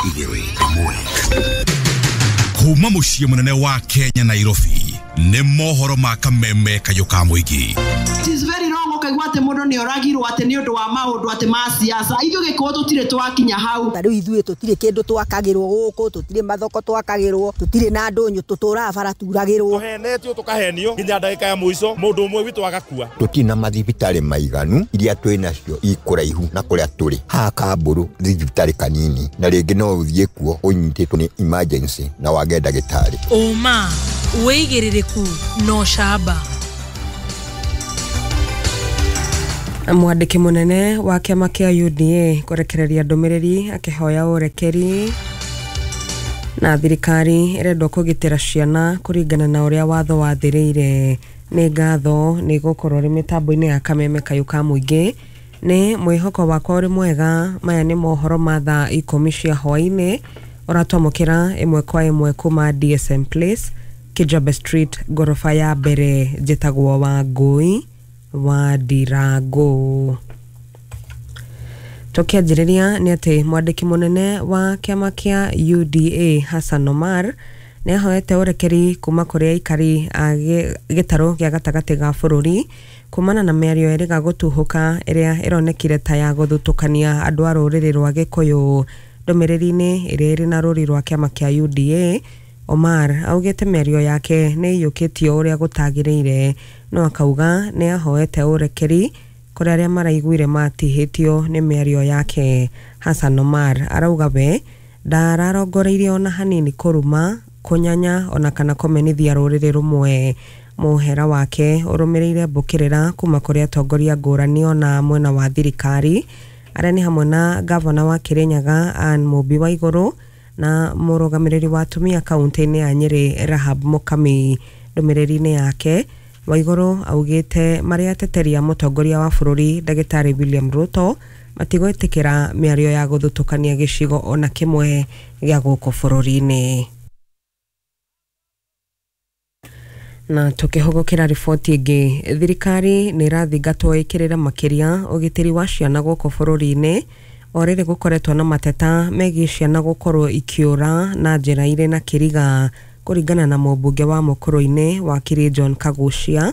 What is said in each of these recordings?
2 1. Kuma mũciĩ mũnene wa Kenya, Nairobi, nĩ mohoro ma kameme kayũ ka mũingĩ. It is very wrong ũkaigua atĩ mũndũ nĩ oragirwo atĩ nĩ ũndũ wa maũndũ atĩ ma siasa. Ithuĩ Gĩkũyũ tũtirĩ twakinya hau. Ta rĩu ithuĩ tũtirĩ kĩndũ twakagĩrwo gũkũ, tũtirĩ mathoko twakagĩrwo, tũtirĩ na ndũnyũ, tũtũraga bara turagĩrwo. Tũhenetio, tũkahenio nginya ndagĩka ya mũico mũndũ ũmwe witũ agakua. Tũtirĩ na mathibitarĩ maiganu, iria twĩ nacio ikũraihu na kũrĩa tũrĩ. Haha Kambũrũ thibitarĩ kanini, na rĩngĩ no ũthiĩ kuo ũnyitĩtwo nĩ emergency na wage ndagĩtarĩ. Ũma, wĩigĩrĩrĩku na ũcamba. Mwandĩki mũnene wa kĩama kĩa UDA kũrekereria ndũmĩrĩri akĩhoya ũrekeri, na thirikari ĩrendwo kũgitĩra ciana kũringana na ũrĩa watho wathĩrĩire. Nĩ ngatho nĩ gũkorwo rĩ mĩtambo-inĩ ya kameme kayũ ka mũingĩ. Nĩ mwĩhoko wakwa ũrĩ mwega. Maya nĩ mohoro ma thaa 10 cia hwaĩ-inĩ, ũratwamũkĩra ĩmwe kwa ĩmwe kuma DSM Place, Kijabe Street, ngoroba ya mbere. Njĩtagwo Wangũi wa Ndirango. Tũkĩanjĩrĩria nĩ atĩ mwandĩki mũnene wa kĩama kĩa UDA Hassan Omar nĩ ahoete ũrekeri kuma kũrĩ aikari a gĩtarũ gĩa gatagatĩ ga bũrũri kumana na mĩario ĩrĩga gũtuhũka ĩrĩa ĩronekire ta ya gũthutũkania andũ a rũrĩrĩ rwa Gĩkũyũ. Ndũmĩrĩri-inĩ ĩrĩa ĩrĩ na rũri rwa kĩama kĩa UDA, Omar augĩte mĩario yake nĩ ĩiyũkĩtio ũrĩa gũtagĩrĩire, no akauga nĩ ahoete ũrekeri kũrĩ arĩa maraiguire matihĩtio nĩ mĩario yake. Hassan Omar arauga we ndararongoreirie ona hanini kũruma, kũnyanya ona kana kũmenithia rũrĩrĩ rũmwe. Mũhera wake ũrũmĩrĩire mbũkĩrĩra kuma kũrĩ atongoria ngũrani ona mwena wa thirikari, arĩa nĩ hamwe na gavana wa Kirinyaga Anne Mũmbi Waigũrũ na mũrũgamĩrĩri wa atumia kaunti-inĩ ya Nyĩrĩ Rahab Mũkami. Ndũmĩrĩri-inĩ yake, Waigũrũ augĩte marĩ ateteri a mũtongoria wa bũrũri Ndagĩtarĩ William Ruto matigwĩtĩkĩra mĩario ya gũthutũkania gĩcigo ona kĩmwe gĩa gũkũ bũrũri-inĩ. Na tukĩhũgũkĩra riboti ĩngĩ, thirikari nĩ ĩrathingatwo ĩkĩrĩre makĩria ũgitĩri wa ciana gũkũ bũrũri-inĩ, o rĩrĩ gũkoretwo na mateta megiĩ ciana gũkorwo ikĩũra na njĩra irĩ na kĩriga. Kũringana na mũmbunge wa Mũkũrũ-inĩ wakiri John Kagucia,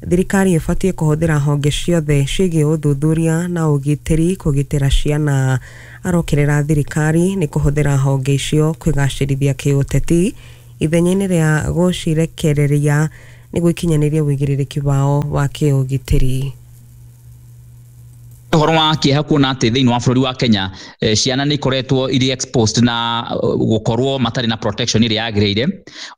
thirikari ĩbatiĩ kũhũthĩra honge ciothe ciĩgiĩ ũthuthuria na ũgitĩri kũgitĩra ciana. Arokĩrĩra thirikari nĩ kũhũthĩra honge icio kwĩgacĩrithia kĩũteti ithenya-inĩ rĩa gũcirekereria nĩguo ikinyanĩrie ũigĩrĩrĩki wao wa kĩũgitĩri. Ũhoro wa kĩeha kuona atĩ thĩinĩ wa bũrũri wa Kenya ciana nĩ ikoretwo irĩ exposed na gũkorwo matarĩ na protection ĩrĩa yagĩrĩire,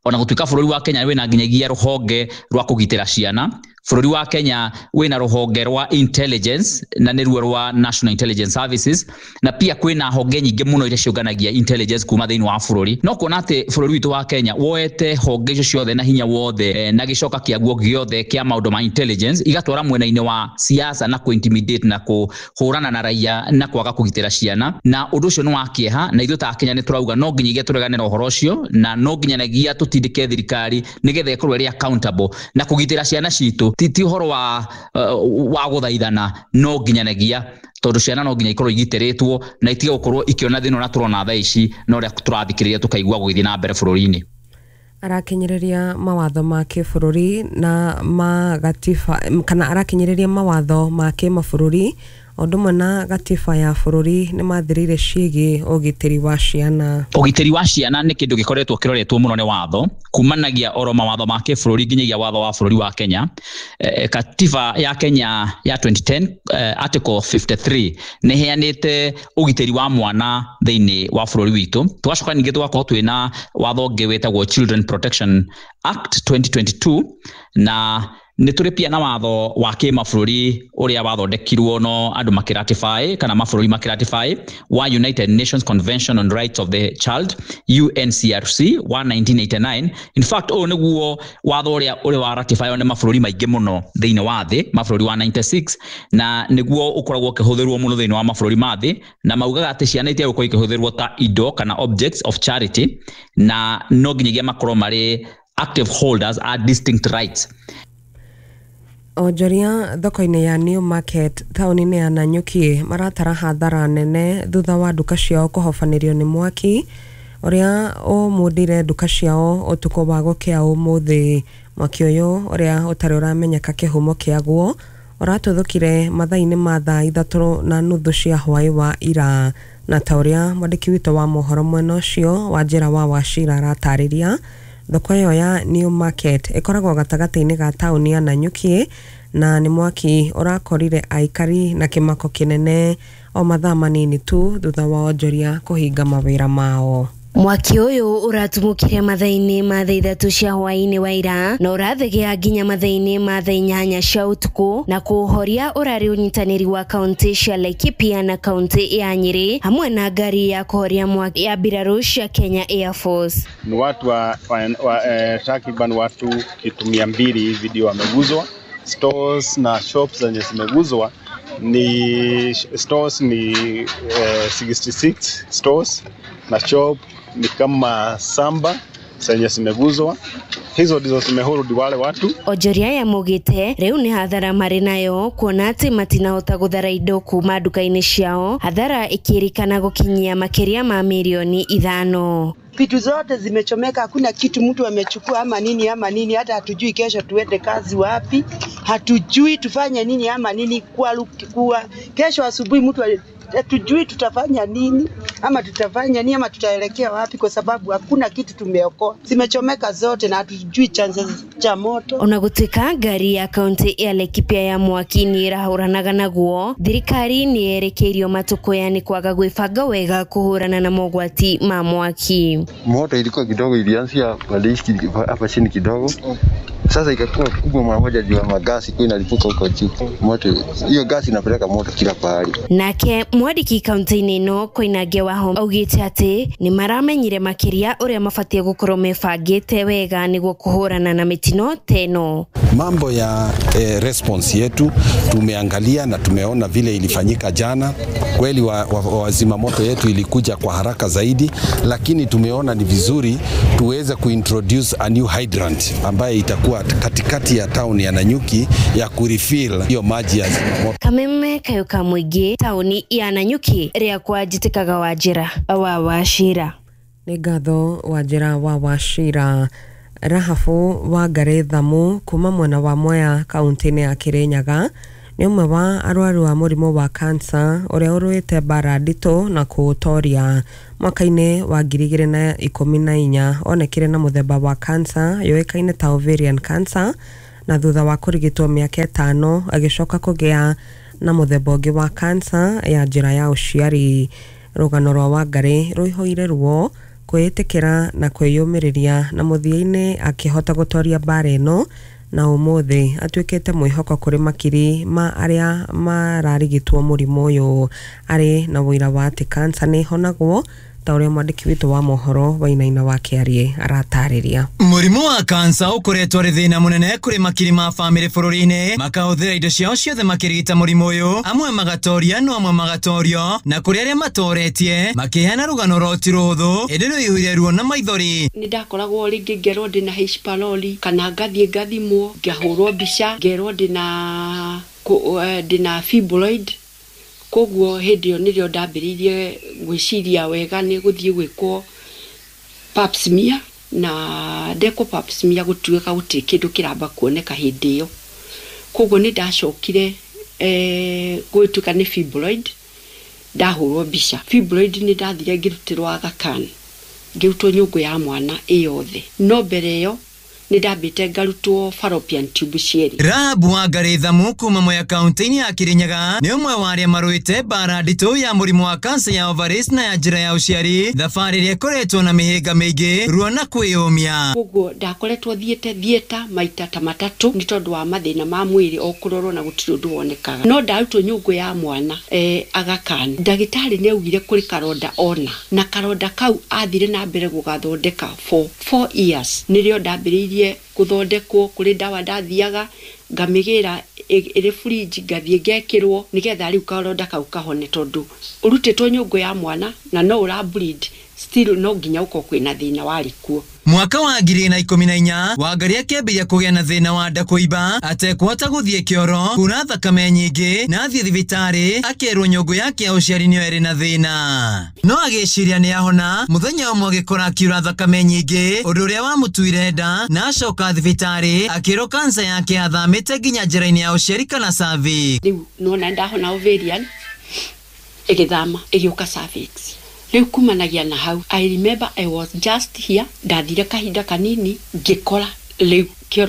ona gũtuĩka bũrũri wa Kenya wĩna nginyagia rũhonge rwa kũgitĩra ciana. Bũrũri wa Kenya wĩna rũhonge rwa intelligence, na nĩruo rwa National Intelligence Services, na pia kwĩna honge nyingĩ mũno iria ciũnganagia intelligence kuma thĩinĩ wa bũrũri. No kuona atĩ bũrũri witũ wa Kenya woete honge icio ciothe na hinya wothe na gĩcoka kĩaguo gĩothe kĩa maũndũ ma intelligence igatwara mwena-inĩ wa siasa na kũ-intimidate na kũhũrana na raia na kwaga kũgitĩra ciana, na ũndũ ũcio nĩ wa kĩeha. Na ithuĩ ta Kenya nĩ tũrauga no nginyagia tũregane na ũhoro ũcio, na no nginyanagia tũtindĩke thirikari nĩgetha ĩkorwo ĩrĩ accountable na kũgitĩra ciana citũ. Ti ũhoro wa gũthaithana, no nginyanagia tondũ ciana no nginya ikorwo igitĩrĩtwo na itige gũkorwo ikĩona thĩna ũrĩa tũrona thaa ici na ũrĩa tũrathikĩrĩria tũkaigua gũgĩthiĩ na mbere bũrũri-inĩ. Arakinyĩrĩria mawatho ma kĩbũrũri na ma gatiba, kana arakinyĩrĩria mawatho ma kĩmabũrũri o ũndũ ũmwe na gatiba ya bũrũri nĩ mathĩrĩire ciĩgiĩ ũgitĩri wa ciana. Ũgitĩri wa ciana nĩ kĩndũ gĩkoretwo kĩroretwo mũno nĩ watho, kumanagia oro mawatho ma kĩbũrũri nginyagia watho wa bũrũri wa Kenya. Katiba ya Kenya ya 2010, article 53 nĩ ĩheanĩte ũgitĩri wa mwana thĩinĩ wa bũrũri witũ. Tũgacoka ningĩ tũgakorwo twĩna watho ũngĩ wĩtagwo Children Protection Act 2022, na nĩ tũrĩ pia na watho wa kĩmabũrũri ũrĩa wathondekirwo no andũ makĩratify kana mabũrũri makĩratify wa United Nations Convention on Rights of the Child, UNCRC wa 1989. In fact, ũyũ nĩguo watho ũrĩa ũrĩ wa ratify nĩ mabũrũri maingĩ mũno thĩinĩ wa thĩ, mabũrũri wa 96, na nĩguo ũkoragwo ũkĩhũthĩrwo mũno thĩinĩ wa mabũrũri ma thĩ, na maugaga atĩ ciana itiagĩrĩirwo gũkorwo ikĩhũthĩrwo ta indo kana objects of charity, na no nginyagia makorwo marĩ active holders a distinct rights. Onjoria thoko-inĩ ya New Market taũni-inĩ ya Nanyuki maratara hathara nene thutha wa nduka ciao kũhobanĩrio nĩ mwaki ũrĩa ũmundire nduka ciao ũtukũ wa gũkĩa ũmũthĩ. Mwaki ũyũ ũrĩa ũtarĩ ũramenyeka kĩhumo kĩaguo ũratuthũkire mathaa-inĩ ma thaa 3:30 cia hwaĩ wa ira, na ta ũrĩa mwandĩki witũ wa mohoro mwena ũcio wa njĩra wa Wachira aratarĩria, thoko ĩyo ya New Market ĩkoragwo gatagatĩ-inĩ ga taũni ya Nanyuki na nĩ mwaki ũrakorire aikari na kĩmako kĩnene o mathaa manini tu thutha wa onjoria kũhinga mawĩra mao. Mwaki ũyũ ũratumũkire mathaa-inĩ ma thaa 3 cia hwaĩ-inĩ wa ira na ũrathegea nginya mathaa-inĩ ma thaa 8 cia ũtukũ, na kũũhoria ũrarĩ ũnyitanĩri wa kaunti cia Laikipia na kaunti ya Nyeri hamwe na ngari ya kũhoria mwaki ya mbirarũ cia Kenya Air Force. Ni watu wa takriban watu kitu 200 hivi ndio wameguzwa. Stores na shops zenye zimeguzwa ni stores ni 66 stores na shop ni kama 7 zenye zimeguzwa. Hizo ndizo zimehurudi wale watu. Onjoria ya mugite riu ni hathara mari nayo kuona ati matinahota guthara indo kuma nduka-inĩ ciao, hathara ikirikana gukinyia makiria ma milioni 5. Vitu zote zimechomeka, hakuna kitu mtu amechukua ama nini ama nini. Hata hatujui kesho tuende kazi wapi, hatujui tufanye nini ama nini. Kwa kesho asubuhi mtu hatujui tutafanya nini ama tutafanya nini ama tutaelekea wapi, kwa sababu hakuna kitu tumeokoa. Zimechomeka zote na hatujui chanzo cha moto. Ona gutuika ngari ya kaunti ya Laikipia ya mwaki ni irahuranaga naguo, thirikari ni yerekeirio matukuya ni kwaga gwibanga wega kuhurana na mogwati ma mwaki. Moto ilikuwa kidogo, ilianzia hapa chini kidogo, sasa ikakuwa kubwa mara moja juu ya magasi kwa inalipuka huko juu. Moto hiyo gasi inapeleka moto kila pahali. Nake mwandiki kaunti-inĩ ĩno Koinange Wahome augĩte atĩ nĩ maramenyire makĩria ũrĩa mabatie gũkorwo mebangĩte wega nĩguo kũhũrana na mĩtino ta ĩno. Mambo ya response yetu tumeangalia na tumeona vile ilifanyika jana. Kweli wazima moto yetu ilikuja kwa haraka zaidi, lakini tumeona ni vizuri tuweze kuintroduce a new hydrant ambaye itakuwa katikati ya town ya Nanyuki ya kurefill hiyo maji ya moto. Kameme Kayuka Mwingi, tauni ya Nanyuki, ria kwa njitikaga wa njira wa Wachira. Nĩ ngatho wa njĩra wa Wachira. Rahabu Wangari Thamu kuma mwena wa Mwea kaunti-inĩ ya Kirinyaga nĩ ũmwe wa arwaru a mũrimũ wa kansa ũrĩa ũrũĩte mbara nditũ na kũũtoria. Mwaka-inĩ wa 2014 onekire na mũthemba wa kansa yũĩkaine ta ovarian cancer, na thutha wa kũrigitwo mĩaka 5 agĩcoka kũgĩa na mũthemba ũngĩ wa kansa ya njĩra ya ũciari. Rũgano rwa Wangari rũihũire ruo, kwĩĩtĩkĩra na kwĩyũmĩrĩria, na mũthia-inĩ akĩhota gũtoria mbara ĩno, na ũmũthĩ atuĩkĩte mwĩhoko kũrĩ makiri ma arĩa mararigitwo mũrimũ ũyũ. Arĩ na ũira wa atĩ kansa nĩ ĩhonagwo, ta ũrĩa mwandĩki witũ wa mohoro Wainaina wa Kĩarie aratarĩria. Mũrimũ wa kansa ũkoretwo arĩ thĩna mũnene kũrĩ makiri ma bamĩrĩ bũrũri-inĩ, makahũthĩra indo ciao ciothe makĩrigita mũrimũ ũyũ, amwe magatoria no amwe magatorio, na kũrĩ arĩa matoretie makĩheana rũgano rwa ti rũhũthũ ĩndĩ rũihũire ruo na maithori. Nĩ ndakoragwo rĩngĩ ngerwo ndĩna H pylori, kana ngathiĩ ngathimwo ngahũrwo mbica ngerwo ndĩna fibroid. Koguo hĩndĩ ĩyo nĩrĩo ndambĩrĩirie gwĩciria wega nĩ gũthiĩ gwĩkwo pap smear, na ndekwo pap smear gũtuĩka gũtirĩ kĩndũ kĩramba kuoneka hĩndĩ ĩyo. Koguo nĩ ndacokire gũtuĩka nĩ fibroid, ndahũrwo mbica. Fibroid nĩ ndathire ngĩrutĩrwo Aga Khan, ngĩrutwo nyũngũ ya mwana ĩyothe, no mbere ĩyo nĩ ndambĩte ngarutwo fallopian tube cierĩ. Rahabu Wangari Thamu kuma Mwea kaunti-inĩ ya Kirinyaga nĩ ũmwe wa arĩa marũĩte mbara nditũ ya mũrimũ wa kansa ya ovaries na ya njĩra ya ũciari, thabarĩ ĩrĩa ĩkoretwo na mĩhĩnga mĩingĩ, ruo na kwĩyũmia. Koguo ndakoretwo thiĩte thieta maita ta matatũ nĩ tondũ wa mathĩna ma mwĩrĩ o kũrorwo na gũtirĩ ũndũ wonekaga, no ndarutwo nyũngũ ya mwana Aga Khan. Ndagĩtarĩ nĩ augire kũrĩ karonda ona, na karonda kau athire na mbere gũgathondeka for 4 years. Nĩrĩo ndambĩrĩirie gũthondekwo, kũrĩ ndawa ndathiaga ngamĩgĩra ĩrĩ fridge ngathiĩ ngekĩrwo nĩgetha rĩu karonda kau kahone, tondũ ũrutĩtwo nyũngũ ya mwana na no ũra bleed Still no nginya ũkorwo kwĩna thĩna warĩ kuo. Mwaka wa 2014 Wangari akĩambĩrĩria kũgĩa na thĩna wa nda kũimba, atekũhota gũthiĩ kĩoro, kura thakame nyingĩ, na athiĩ thibitarĩ akerwo nyũngũ yake ya ũciari nĩyo ĩrĩ na thĩna. No agĩciria nĩ ahona, mũthenya ũmwe agĩkora akiura thakame nyingĩ, ũndũ ũrĩa wamũtuire nda, na acoka thibitarĩ akĩrwo kansa yake yathamĩte nginya njĩra-inĩ ya ũciari kana cervix. Rĩu nona ndahona ovarian ĩgĩthama ĩgĩũka cervix. Rĩu kumanagia na hau, I remember I was just here, ndathire kahinda kanini ngĩkora rĩu kĩoro.